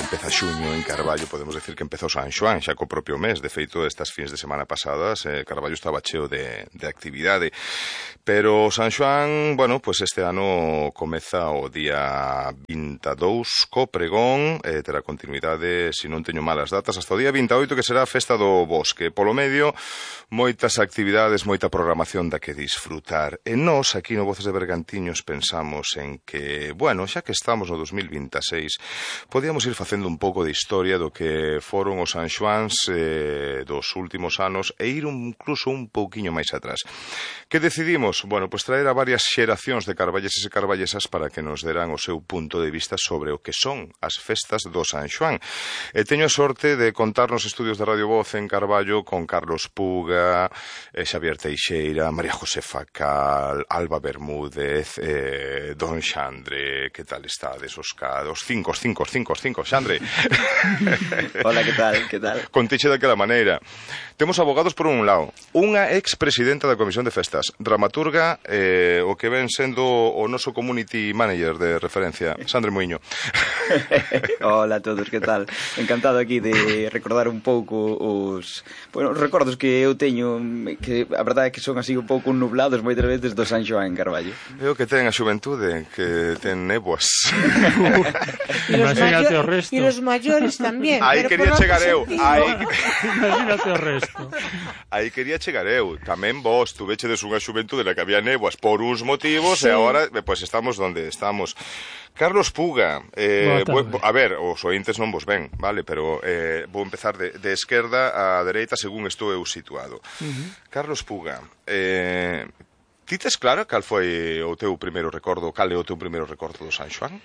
empeza xuño en Carballo, podemos decir que empezou San Xoán xa co propio mes. De feito, estas fins de semana pasadas Carballo estaba cheo de actividade. Pero San Xoán, bueno, pues este ano comeza o día 22 co pregón, terá continuidade, se non teño malas datas, hasta o día 28, que será a festa do bosque. Polo medio, moitas actividades, moita programación da que disfrutar. E nós, aquí no Voces de Bergantiños, pensamos en que, bueno, xa que estamos no 2026, podíamos ir facendo un pouco de historia do que foron os San Xoáns dos últimos anos e ir incluso un pouquiño máis atrás. Que decidimos? Bueno, pues traer a varias xeracións de carballeses e carballesas para que nos deran o seu punto de vista sobre o que son as festas do San Xoán. E teño a sorte de contar nos estudios de Radio Voz en Carballo con Carlos Puga, Xavier Teixeira, María José Facal, Alba Bermúdez, Don Xandre. Que tal estades, Oscar? Os cinco, Xandre. Hola, que tal? Contiche daquela maneira. Temos abogados por un lado, unha ex-presidenta da Comisión de Festas, dramaturga, o que ven sendo o noso community manager de referencia, Xandre Muiño. Hola a todos, que tal? Encantado aquí de recordar un pouco os recordos que eu teño, que a verdade é que son así un pouco nublados moitas veces do San Xoán en Carballo. É o que ten a xuventude, que ten néboas. Imagínate o resto. E os maiores tamén. Aí quería chegar eu. Imagínate o resto. Aí quería chegar eu. Tamén vos tuvechedes unha xuventude na que había néboas por uns motivos, sí. E agora, pues estamos onde estamos. Carlos Puga, a ver, os ointes non vos ven, vale, pero vou empezar de esquerda a dereita según estou eu situado. Carlos Puga, ti tes claro cal foi o teu primeiro recordo, cal é o teu primeiro recordo do San Xoán?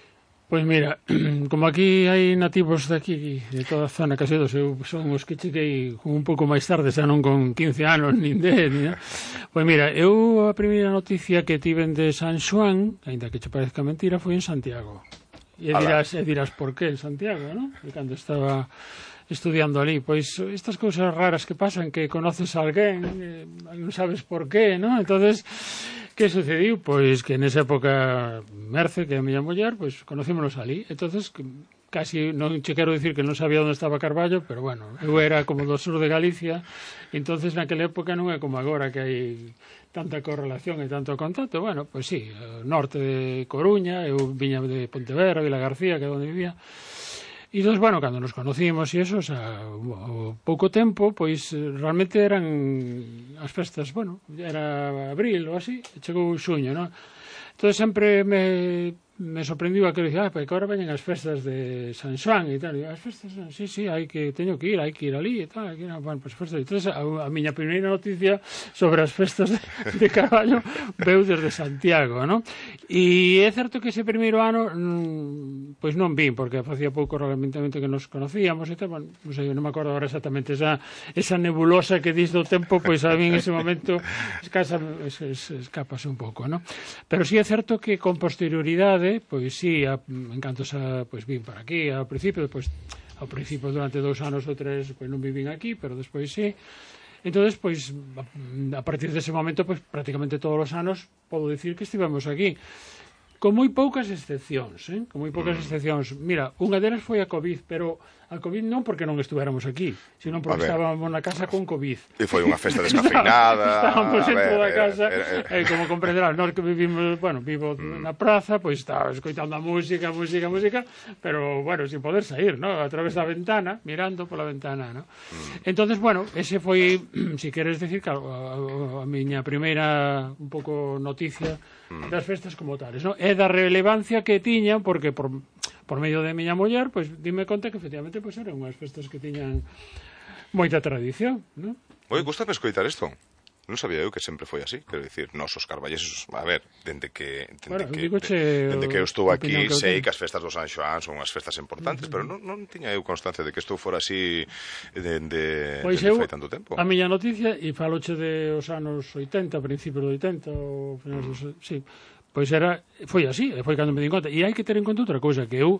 Pois mira, como aquí hai nativos de aquí, de toda a zona casedos, eu son os que cheguei un pouco máis tarde, xa non con 15 anos, nin 10, pois mira, eu a primeira noticia que tiven de San Xoán, ainda que che parezca mentira, foi en Santiago. E dirás por qué en Santiago, non? E cando estaba estudiando ali, pois estas cousas raras que pasan, que conoces a alguén, non sabes por qué, non? Entonces, que sucediu? Pois que nesa época Merce, que é a miña muller, pois conocímonos ali. Entonces, casi non che quero dicir que non sabía onde estaba Carballo, pero bueno, eu era como do sur de Galicia, entonces naquela época non é como agora que hai tanta correlación e tanto contacto. Bueno, pois sí, norte de Coruña, eu viña de Pontevedra, Vila García, que é onde vivía. E entón, bueno, cando nos conocimos e eso, o sea, ao pouco tempo, pois realmente eran as festas, bueno, era abril ou así, chegou xuño, non? Entón sempre me sorprendiu aquilo, dicía, porque agora veñen as festas de San Xoán e tal, e as festas, sí, teño que ir ali e tal, bueno, pues festas. Entón, a miña primeira noticia sobre as festas de Carballo veu desde Santiago, non? E é certo que ese primeiro ano pois non vin, porque facía pouco realmente que nos conocíamos e tal, bueno, non sei, non me acordo agora exactamente esa nebulosa que dis do tempo, pois a mí en ese momento escapase un pouco, non? Pero sí é certo que con posterioridade, pois sí, en canto pois vin para aquí ao principio durante 2 anos ou 3 pois non vivín aquí, pero despois sí. Entonces, pois a partir dese momento, pois prácticamente todos os anos podo dicir que estivemos aquí. Con moi poucas excepcións, con moi poucas excepcións. Mira, unha delas foi a COVID, pero a COVID non porque non estuéramos aquí, sino porque estábamos na casa con COVID. E foi unha festa descafeinada. Estábamos en toda a casa, como comprenderás, nós que vivimos, bueno, vivo na praza, pois estaba escoitando a música, pero, bueno, sin poder sair, ¿no? A través da ventana, mirando pola ventana, ¿no? Entonces, bueno, ese foi, si queres decir, claro, a miña primeira un pouco noticia das festas como tales, ¿no? É da relevancia que tiñan, porque por medio de miña muller, pois dime conta que efectivamente pois eran unhas festas que tiñan moita tradición, non? Oi, gustame escoitar isto. Non sabía eu que sempre foi así, quero dicir, nós os carballeses, a ver, dende que eu estou aquí, sei que as festas do San Xoán son unhas festas importantes, pero non tiña eu constancia de que isto fora así dende fai tanto tempo. A miña noticia, e faloche de os anos 80, principios de 80, ou finais dos... Sí, pois foi así, foi cando me di conta. E hai que ter en conta outra cousa, que eu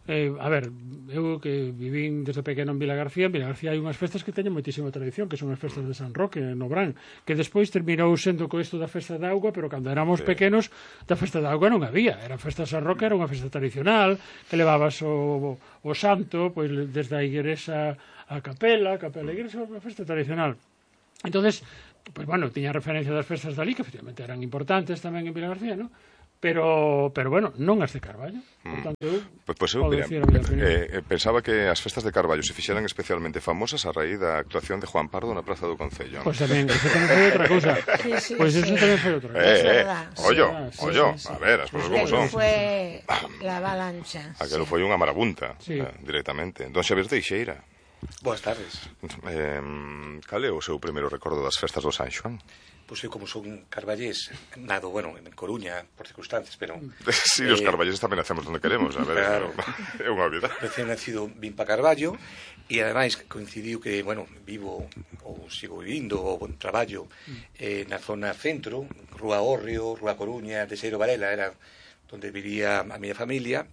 A ver, eu que vivín desde pequeno en Vila García hai unhas festas que teñen moitísima tradición, que son as festas de San Roque, no Brán, que despois terminou sendo co isto da festa da auga, pero cando éramos pequenos, da festa da auga non había. Era a festa de San Roque, era unha festa tradicional, que levabas o santo, pois desde a igrexa a capela a igrexa, unha festa tradicional. Entonces, pois bueno, tiña referencia das festas dali, que efectivamente eran importantes tamén en Vila García, non? Pero bueno, non as de Carballo. Portanto, Pois eu, mira, pensaba que as festas de Carballo se fixeran especialmente famosas a raíz da actuación de Juan Pardo na Praza do Concello. Pois tamén, eso tamén foi outra cousa. Pois eso tamén foi outra cousa. Ollo, a ver, as cousas como son. Foi la avalancha. Aquelo foi unha marabunta, directamente. Don Xavier Teixeira. Boas tardes. Cal é o seu primeiro recordo das festas do San Xoán? Pois eu, como son carballés, nado, bueno, en Coruña, por circunstancias, pero... Sí, os carballeses tamén nacemos onde queremos, a ver, claro. É unha vida. Recién nacido vim pa Carballo, e ademais coincidiu que, bueno, vivo, ou sigo vivindo, ou traballo na zona centro, Rúa Hórreo, Rúa Coruña, Teixeiro Varela, era onde vivía a miña familia,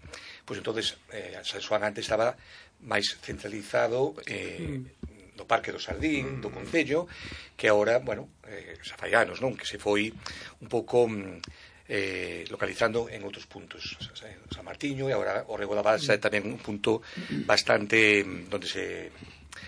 pois entonces San Xoán antes estaba máis centralizado no Parque do Sardín, do Concello, que agora, bueno, xa fai anos, non? Que se foi un pouco localizando en outros puntos. San Martiño e agora o Rego da Balsa é tamén un punto bastante onde se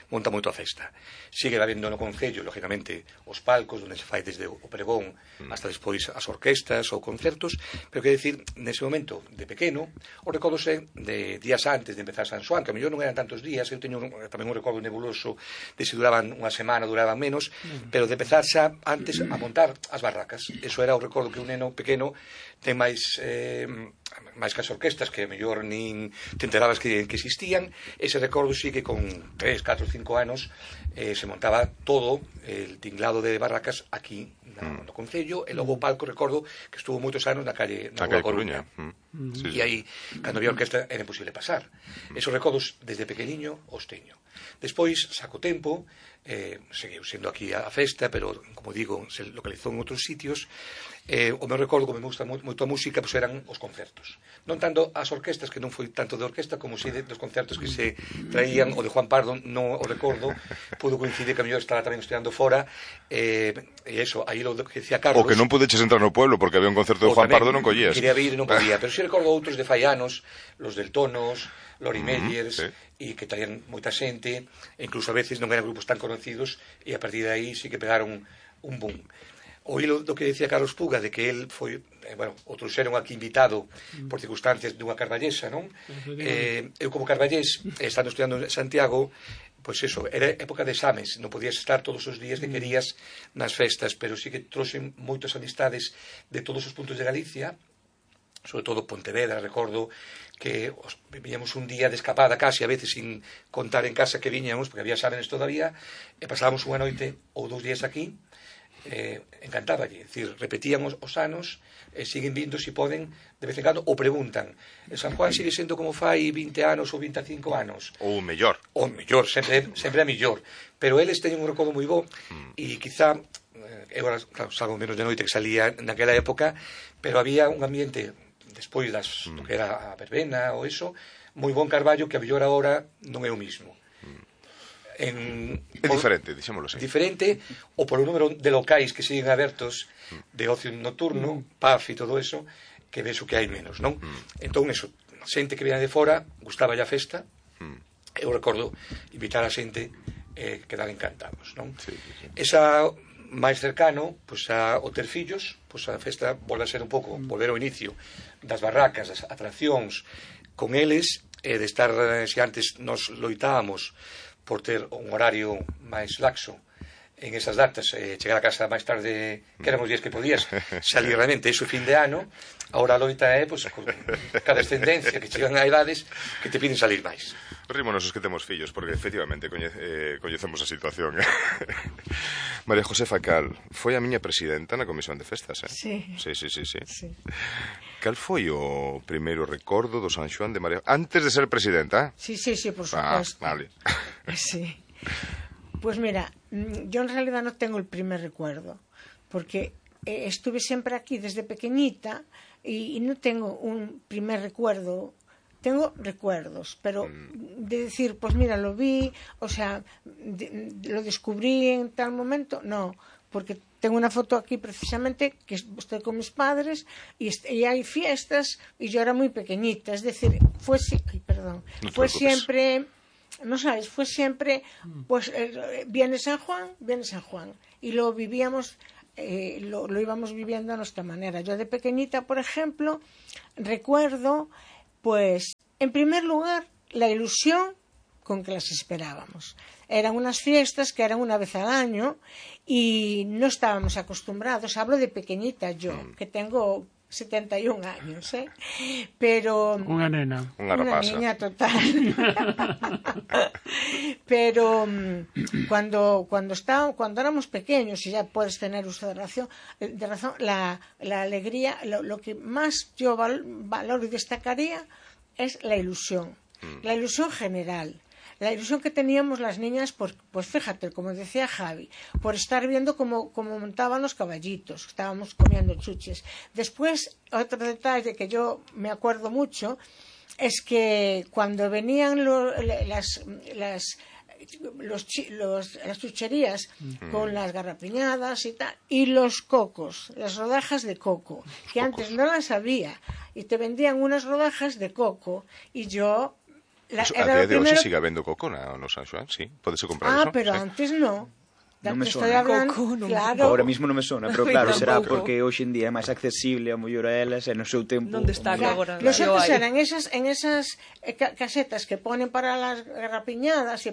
monta moito a festa. Sigue habendo no Concello, lógicamente, os palcos onde se fai desde o pregón hasta despois as orquestas ou concertos, pero que decir, nese momento de pequeno, o recordo de días antes de empezar San Xoán, que a mellor non eran tantos días, eu teño tamén un recordo nebuloso de se duraban unha semana, duraban menos, pero de empezar xa antes a montar as barracas. Eso era o recordo que un neno pequeno ten máis que as orquestas, que a mellor nin te enterabas que existían. Ese recordo sí que con 3, 4, 5 anos se montaba todo el tinglado de barracas aquí no Concello, e logo o palco, recordo que estuvo moitos anos na calle Coruña. E aí, cando había orquesta, era imposible pasar. Esos recordos desde pequeniño os teño. Despois, saco tempo, seguiu sendo aquí a festa, pero, como digo, se localizou en outros sitios. O meu recordo, como me gusta moito a música, pois eran os concertos. Non tanto as orquestas, que non foi tanto de orquesta, como si dos concertos que se traían. O de Juan Pardo non o recordo, pudo coincidir que a mellor estaba tamén estudiando fora, e eso, aí lo que decía Carlos... O que non pudeches entrar no pueblo porque había un concerto de Juan Pardo non collías. Quería vir e non podía, pero si recordo outros de fai anos, los del Tonos, Lori Meyers, e que traían moita xente, e incluso a veces non eran grupos tan conocidos, e a partir de aí sí que pegaron un boom. O hilo do que decía Carlos Puga, de que el foi, bueno, o trouxeron aquí invitado por circunstancias dunha carballesa, non? Eu como carballés, estando estudiando en Santiago, pois eso, era época de exames, non podías estar todos os días que querías nas festas, pero sí que trouxen moitas amistades de todos os puntos de Galicia, sobre todo Pontevedra, recordo que viñamos un día de escapada casi, a veces sin contar en casa que viñamos, porque había exámenes todavía, e pasábamos unha noite ou 2 días aquí, encantáballe, é dicir, repetían os anos, siguen vindo se poden de vez en cando, ou preguntan, San Juan sigue sendo como fai 20 anos ou 25 anos, ou mellor, sempre é mellor, pero eles teñen un recordo moi bo, e quizá eu agora, claro, salgo menos de noite que salía naquela época, pero había un ambiente despois do que era a verbena ou eso, moi bon Carballo, que a mellor agora non é o mismo. É diferente, dixémoslo así. Diferente, ou polo número de locais que siguen abertos de ocio nocturno, PAF e todo eso, que ves o que hai menos, non? Entón, eso, xente que viene de fora, gustaba a festa, eu recordo invitar a xente quedar encantados, non? Esa máis cercano, pois ao ter fillos, pois a festa volve a ser un pouco, volver ao inicio das barracas, das atraccións con eles, de estar, se antes nos loitábamos por ter un horario máis laxo en esas datas, chegar a casa máis tarde, que eran os días que podías salir realmente, eso fin de ano. Ahora a loita é, pois, con cada descendencia que chegan a edades que te piden salir máis. Rímonos os que temos fillos, porque efectivamente coñecemos a situación. María Josefa Cal foi a miña presidenta na Comisión de Festas, Sí. Sí. Cal foi o primeiro recordo do San Xoán de María... Antes de ser presidenta? Sí, por supuesto. Vale. Sí. Pues mira, yo en realidad no tengo el primer recuerdo, porque estuve siempre aquí desde pequeñita y no tengo un primer recuerdo tengo recuerdos, pero de decir, pues mira, lo vi, o sea, lo descubrí en tal momento, no, porque tengo una foto aquí precisamente que estoy con mis padres y hay fiestas y yo era muy pequeñita, es decir, fue siempre, no sabes, fue siempre, pues viene San Juan y lo vivíamos, lo íbamos viviendo a nuestra manera. Yo de pequeñita, por ejemplo, recuerdo, pues, en primer lugar, la ilusión con que las esperábamos. Eran unas fiestas que eran una vez al año y no estábamos acostumbrados. Hablo de pequeñita yo, que tengo 71 años, ¿eh? Pero... Unha nena. Unha niña total. Pero cuando éramos pequeños, y ya puedes tener uso de razón, la alegría, lo que más yo valoro y destacaría es la ilusión general. La ilusión que teníamos las niñas, pues fíjate, como decía Javi, por estar viendo cómo montaban los caballitos, estábamos comiendo chuches. Después, otro detalle que yo me acuerdo mucho, es que cuando venían las chucherías con las garrapiñadas y tal, y los cocos, las rodajas de coco, que antes no las había, y te vendían unas rodajas de coco, y yo... A día de hoxe sigue habendo coco no San Xoán, sí, podese comprar eso. Pero sí. Antes no. Non me Estoy sona. hablando, Coco, claro. Ahora mismo non me sona, pero claro, será tampouco. porque hoxe en día é máis accesible a mellor a elas e no seu tempo... Non destaca agora. Nosotros Yo hai. eran en esas casetas que ponen para las garrapiñadas y